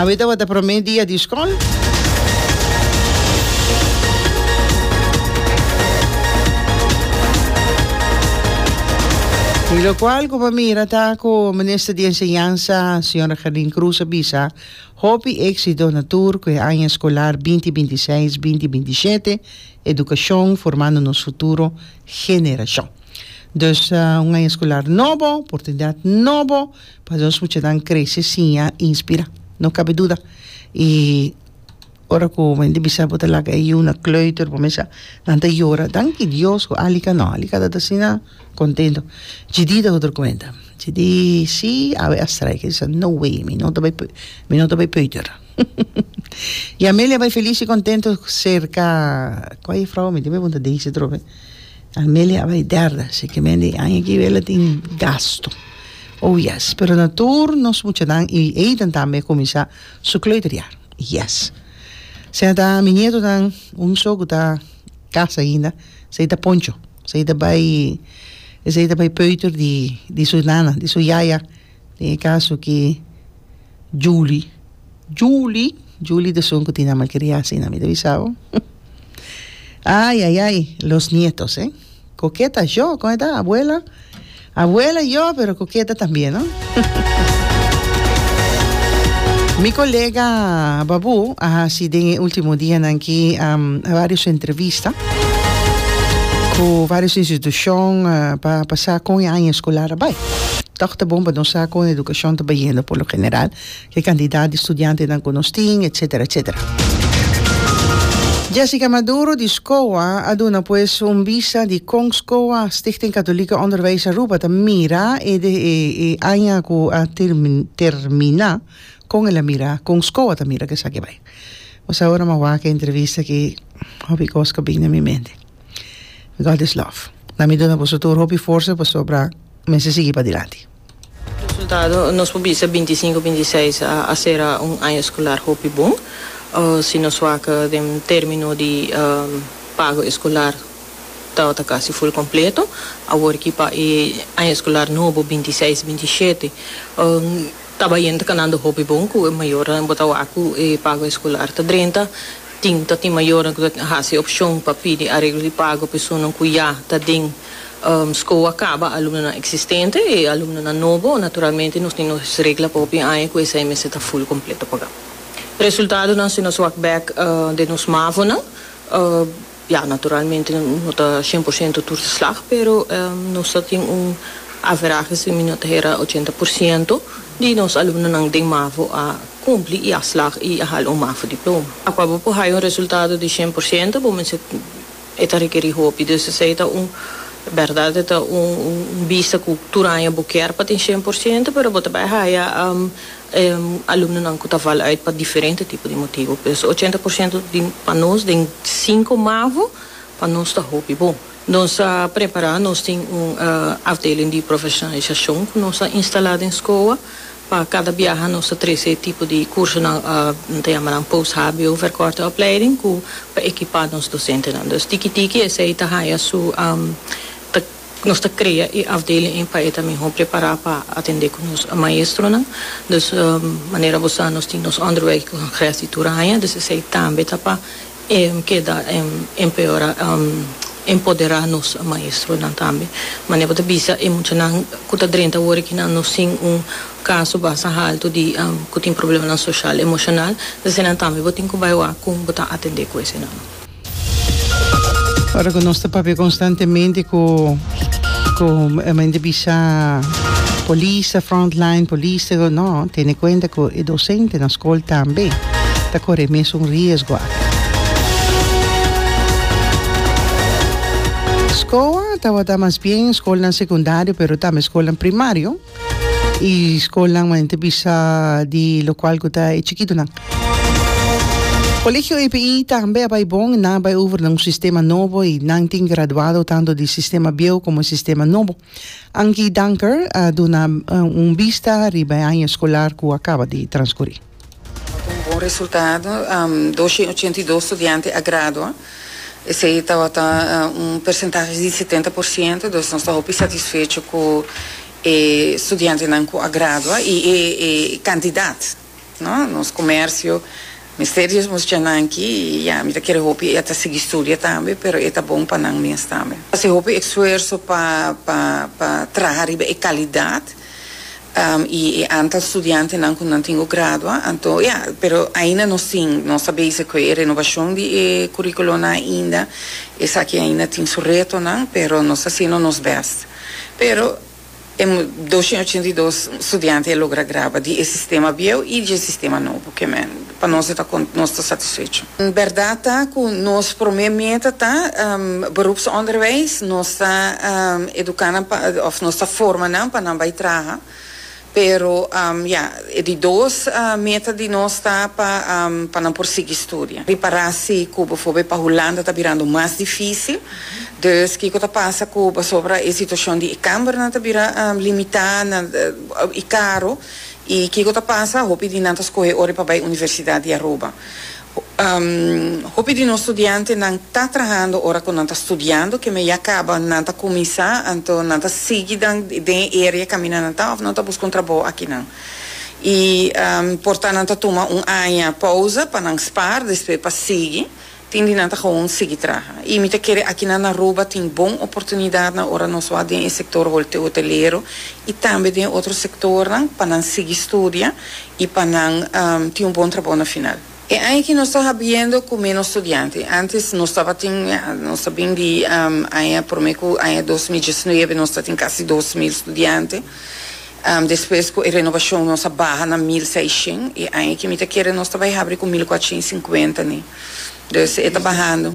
Awe tabata prome dia di skol. Y locual cu pa mira ta cu Minister di Enseñansa, Sra. Gerlin Croes a bisa hopi exito na tur cu e aña escolar binti binti seis, binti binti shete, Educacion formando nos futuro generacion. Dus un aña escolar nobo, oportunidad nobo pa nos muchanan crece, siña, inspira. No cabe duda. Y ora cu men di bisa bo ta laga e yiu na kleuter bo mesa nan ta yora. Danki Dios cu Alika no, Alika ta asina contento. Gidi ta otro cuenta. Gidi si awe a strike, e bisa no way mi no ta bay mi no ta bay peuter. Y Amelia bay feliz y contento cerca cual e vrouw mi tin pregunta Daisy atrobe. Amelia a bay derde así que men di aña aki wela tin gasto. Oh yes, pero na tur nos muchanan y Aiden tambe a cuminsa su kleuterjaar. Yes. Sea ta mi nietonan un so cu ta casa ainda, esey ta Poncho. Esey ta bay esey ta bay peuter di di su nana, di su yaya. Den e caso ki Julie, Julie, Julie ta esun cu tin nan malcria asina, mi ta bisa bo. Ay, ay, ay, los nietos, eh. Coqueta yo, con e ta? Abuela, abuela yo, pero coqueta tambien, no? Mi colega Babu a haci den e ultimo dianan aki varios entrevista cu varios institucion pa pa sa con e aña escolar a bay. Toch ta bon pa nos sa con educacion ta bayendo por lo general. Ke kantidat di studiantenan ku nos tin, etsetera, etsetera. Jessica Maduro di SCOA a duna pues un bista di kon SCOA, Stichting Katholieke Onderwijs Aruba, ta mira e e aña ku a terminá, kon el a mira, kon SCOA ta mira ku esaki bai. Pues awor mi a wak e entrevista aki, hopi kos ku a bini na mi mente. God is love. Na mi duna boso tur hopi forsa pasobra mester sigui padilanti. Resultado, nos por bisa bintisinko, bintiseis a sera un aña eskolar hopi bon. Si nos wak den termino di pago eskolar tabata kasi ful kompleto. Awor ki pa e aña eskolar nobo bintiseis, bintishete ta bayendo kanando hopi bon ku e mayornan bo ta wak ku e pago eskolar ta drenta. Tin ta tin mayornan ku ta hasi opshon pa pidi areglo di pago pa esunnan ku ya ta den Skool a kaba alumnonan eksistente i alumnonan nobo. Naturalmente nos tin nos regla pa hopi aña ku esei mester ta ful kompleto pagá. Resultadonan si nos wak bèk den nos mavonan, ya naturalmente no ta 100% tur ta slag, pero nos ta tin un averahe si mi no ta hera 80% di nos alumnonan den mavo a kumpli i a slag i a hala un mavo diploma. Akua bo por haya un resultado di 100% bo mester E ta rekerí hopi. Dus esei ta un bèrdat, e ta un bista ku tur aña bo kier pa tin 100%, pero bo ta bai haya alumnonan ku ta val uit pa diferente tipo di motibu. Pues 80% di pa nos den sinku mavo pa nos ta hopi bon. Nos a prepará, nos tin un afdeling di profeshonalisashon ku nos a instalá den SCOA. Pa kada biaha nos ta trese e tipo di kursonan, nan ta yama nan post-hbo verkorte opleiding, ku pa ekipá nos dosentenan. Dus tiki tiki esei ta haya su, ta nos ta krea e afdeling ei pa e ta mihó prepará pa atendé ku nos maestronan. Dus manera bo sa nos tin nos onderwijscongres di tur aña, dus esei tambe ta pa keda empeora empoderá nos maestronan tambe. Manera bo ta bisa e muchanan ku ta drenta awor aki nan no sin un kaso basta haltu di ku tin problemanan soshal, emoshonal, esenan tambe bo tin ku bai wak kon bo ta atendé ku esenan. Ora ku nos ta papia konstantemente ku ku men ta bisa polis ta frontline, polis ta no, tene kuenta ku e dosente na skol tambe ta kore e mesun riesgo aki. Skoa tabata mas bien skolnan sekundario pero tambe skolnan primario. Y scolnan manera ta bisa di locual cu ta e chikitonan. Colegio EPI tambe a bay bon, nan a bay over na un sistema nobo y nan tin graduado tanto di sistema bieu como e sistema nobo. Ankie Danker a duna un bista riba e aña escolar cu a caba di transcuri. Tabata un bon resultado, 282 studiante a gradua, esey tabata un percentahe di 70%, dus nos ta hopi satisfecho cu e studiantenan cu a gradua y e cantidad. no? Nos comercio mester di e muchanan aki y ya, mi ta kere hopi e ta sigui studia tambe, pero e ta bon pa nan mes tambe. Haci hopi esfuerzo pa pa pa traha riba e calidad y e aantal studiantenan cu nan tin cu gradua, anto ya, pero ainda nos tin, nos ta bezig cu e renovacion di e curiculonan ainda, esaki ainda tin su retonan, pero nos ta haciendo nos best. Pero e 282 studiante a logra graba di e sistema bieu y di e sistema nobo, ke men pa nos e ta nos ta satisfecho. Berdad ta cu nos prome meta ta beroepsonderwijs, nos ta educa nan pa of nos ta forma nan pa nan bay traha, pero ya e di dos meta di nos ta pa pa nan por sigui studia. Ripara si cu bijvoorbeeld pa Hulanda ta birando mas dificil, dus kico ta pasa cu pasobra e situacion di e cambernan ta bira limita y caro. I kiko ta pasa? Hopi di nan ta skohe ora pa bai Universidat di Aruba. Hopi di nos studiantenan ta trahando ora ku nan ta studiando, keme ya kaba nan ta kuminsá, anto nan ta sigui dan den e area kaminda nan ta òf nan ta buska un trabou akinan. I por ta nan ta tuma un aña pousa pa nan spaar despues pa sigui. Tin di nan ta gewoon sigui traha. I mi ta kere akinan na Aruba tin bon oportunidatnan ora nos wak den e sektor hotelero i tambe den otro sektornan pa nan sigui studia i pa nan tin un bon trabou na final. E aña aki nos ta habiendo ku menos studiante. Antes nos tabatin, ya, nos ta bin di aña prome ku aña 2019 nos ta tin kasi 2000 studiante. Despues ku e renobashon nos a baha na 1600 i aña aki mi ta kere nos ta bai habri ku 1450 ni. Dus e ta bahando.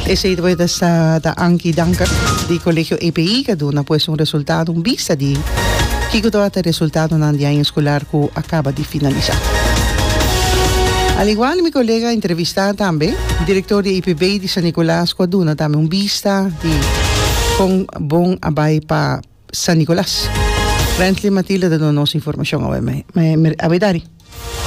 Esei ta sa ta Ankie Danker di Colegio EPI ka duna pues un resultado, un bista di kiko tabata e resultadonan di aña escolar cu a caba di finalisa. Al igual mi colega a entrevista tambe director di EPB di San Nicolas cu a duna tambe un bista di con bon a bay pa San Nicolas. Rensley Matilda ta duna nos informacion awe awe dari.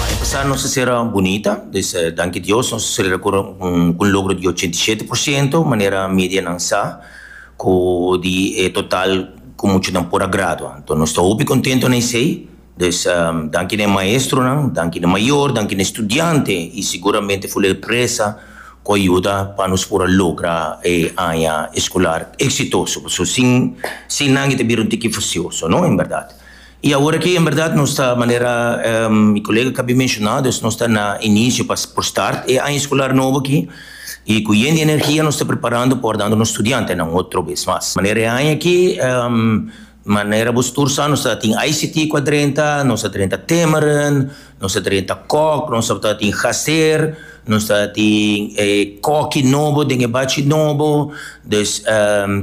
Aña pasá nos a sera bunita, dus danki Dios nos a sera ku un logro di 87%, manera medianan sa ku di e total ku muchanan por a gradua. Anto nos ta hopi kontento na esei, dus danki na e maestronan, danki na e mayor, danki na e studiante i siguramente for e empresa ku a yuda pa nos por a logra e aña eskolar eksitoso, pasobra sin sin nan e ta bira un tiki fasioso, no, en bèrdat. I awor aki en bèrdat nos ta manera mi kolega kabi menshoná, dus nos ta na inisio pa por start e aña eskolar nobo aki i ku yen di energia nos ta preparando pa wardando nos studiantenan otro bes mas. Manera e aña aki Manera bo tur sa nos ta tin ICT ku a drenta, nos a drenta Timmeren, nos a drenta Kok, nos ta tin Gaser, nos ta tin e koki nobo den e bachi nobo, dus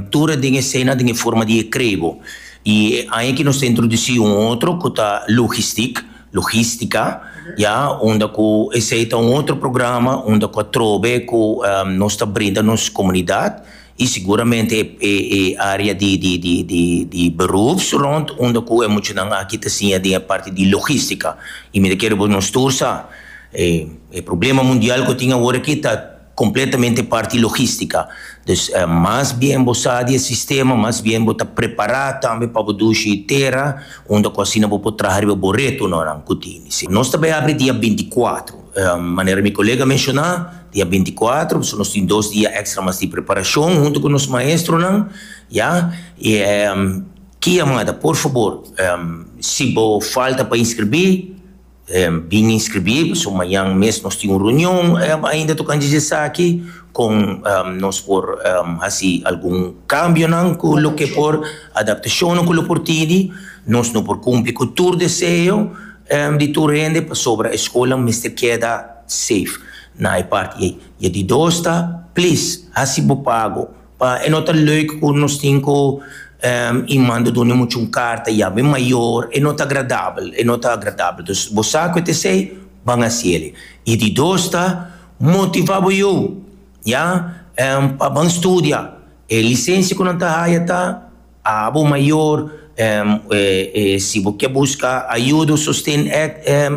tur e den esena den e forma di e krebo. I e aña aki nos ta introdusí un otro ku ta logistiek, logistica, ya, unda ku esei ta un otro programa unda ku atrobe ku nos ta brinda nos komunidat. I siguramente e e area di di di di di beroeps rond unda ku e muchanan aki ta siña den e parti di logistica. I mi ta kere bo nos tur sa e e problema mundial ku tin awor aki ta completamente parti logistica. Dus mas bien bo sa di e sistema, mas bien bo ta prepara tambe pa bo dushi tera unda ku asina bo por traha riba bo retonan ku tini. Nos ta bai abri dia 24. Manera mi kolega menshoná, dia 24, pasobra nos tin dos dia èkstra mas di preparashon huntu ku nos maestronan, ya. I ki yamada, por fabor, si bo falta pa inskribí, bin inskribí, pasobra mañan mes nos tin un reunion ainda tokante di esaki, kon nos por hasi algun kambionan ku loke por, adaptashonnan ku lo por tini. Nos no por kumpli ku tur deseo. Di tur hende pasobra e skolnan mester keda safe na e parti ei. I e di dos ta, please, hasi bo pago. Pa e no ta leuk ku nos tin ku i manda duna mucha un karta yama e mayor, e no ta agradabel, e no ta agradabel. Dus bo sa ku e ta esei, ban hasi el. I di dos ta, motiva bo yu, ya, pa ban studia. E lisensia ku nan ta haya ta. Abo mayor, si bo ke buska ayuda o sosten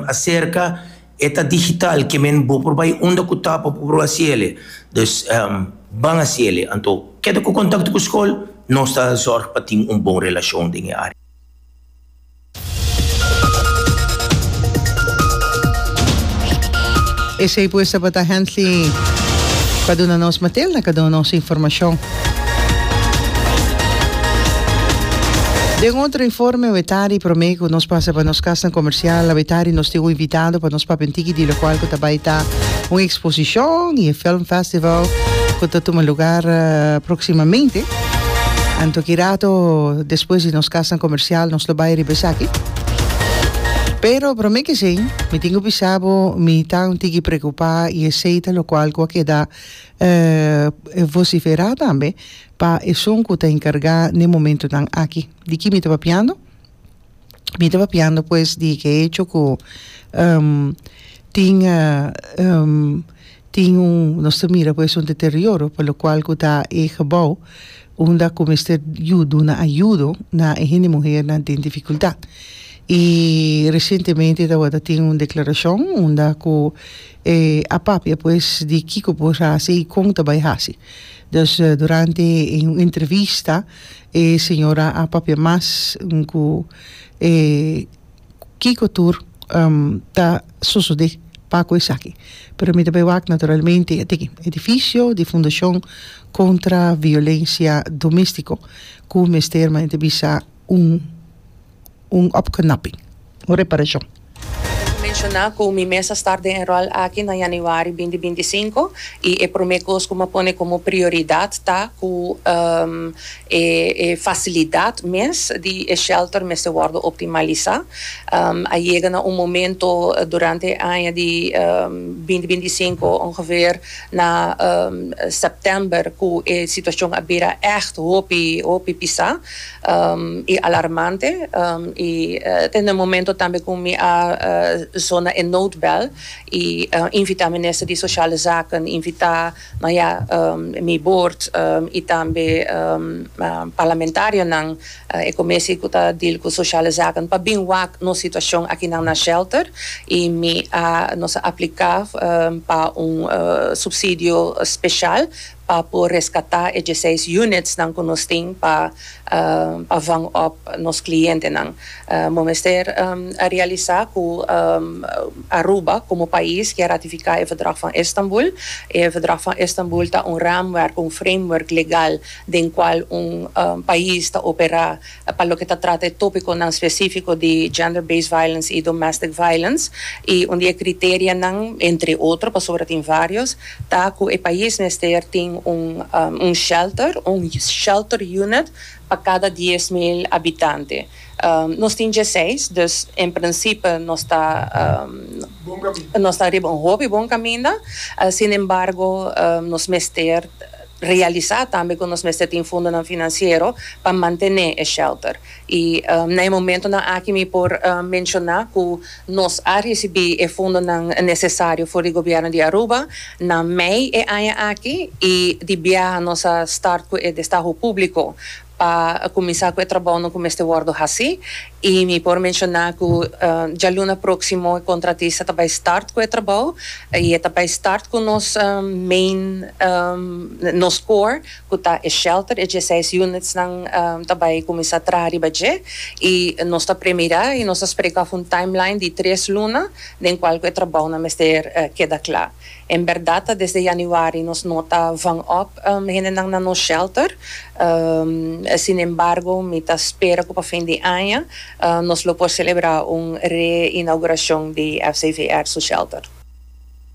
aserka, e ta digital, ke men bo por bai unda ku ta pa bo por hasi el. Dus, Ban hasiele. Anto keda ku kontakto ku skol, nos ta zòrg pa tin un bon relashon den e área. Esei pues tabata Hensley pa duna nos Matilda ka duna nos informashon. Den otro informe awetari prome ku nos pasa pa nos kasnan komersial awetari nos tin un invitado pa nos papia un tiki di lokual ku ta bai ta un eksposishon i e film festival ku ta tuma lugar proksimamente. Anto ki rato despues di nos kasnan komersial nos lo bai riba esaki. Pero prome ke esei mi tin ku bisa bo mi ta un tiki preokupá i esei ta lokual ku a keda vosiferá tambe pa esun ku ta enkargá n'e momentunan aki. Di ki mi ta papiando? Mi ta papiando pues di ke hecho ku tin tin un nos ta mira pues un deterioro pa lokual ku ta e gebou unda ku mester yu duna ayudo na e hende muhernan den difikultat. I resientemente tabata tin un deklarashon unda ku e a papia pues di kiko por hasi i kon ta bai hasi. Dus durante un entrevista E señora a papia mas ku e kiko tur ta sosodé pa ku esaki. Pero mi ta bai wak naturalmente e tiki edifisio di Fundashon Kontra Violensia Doméstiko ku mester manera ta bisa un. Un opknapping, un reparashon. Mi ta menshoná ku mi mes a start den e ròl aki na yanüari binti 25 i e promé kos ku mi a pone komo prioridat ta ku e e fasilidat mes di e shelter mester wòrdu optimalisá. A yega na un momento durante e aña di binti 25 ongeveer na sèptèmber ku e situashon a bira ègt hopi hopi pisá. I alarmante i te na e momento tambe ku mi a zona e noodbel i invitá minister di Sociale Zaken, invitá no ya mi board i tambe parlamentarionan, e komisi ku ta deal ku Sociale Zaken pa bin wak nos situashon akinan na shelter i mi a nos a apliká pa un supsidio speshal pa por reskatá e dieseis unitsnan ku nos tin pa pa vang op nos klientenan. Bo mester a realisá ku Aruba komo pais ke a ratifiká e Verdrag van Istanbul. E Verdrag van Istanbul ta un raamwerk, un framework legal den kual un pais ta operá pa loke ta trata e tópikonan spesífiko di gender based violence i domestic violence. I un di e kriterianan, entre otro, pasobra tin vários, ta ku e pais mester tin un un shelter, un shelter unit pa kada 10,000 habitante. Nos tin dieseis, dus en prinsipe nos ta nos ta riba un hopi bon kaminda. Sin embargo, nos mester realisá tambe ku nos mester tin fondonan finansiero pa mantené e shelter. I na e momentonan aki mi por menshoná ku nos a risibí e fondonan nesesario for di gobièrnu di Aruba na mei e aña aki i di biaha nos a start ku e destaho públiko pa kuminsá ku e trabounan ku mester wòrdu hasí. I mi por menshoná ku djaluna próksimo e kontratista ta bai start ku e trabou i e ta bai start ku nos main nos core ku ta e shelter, e dieseis unitsnan ta bai kuminsá traha riba dje i nos ta premirá i nos ta sprek af un timeline di tres luna den kual ku e trabounan mester keda kla. En bèrdat ta desde yanüari nos no ta vang op hendenan na nos shelter, sin embargo mi ta spera ku pa fin di aña nos lo por selebrá un reinaugurashon di FCVR su shelter.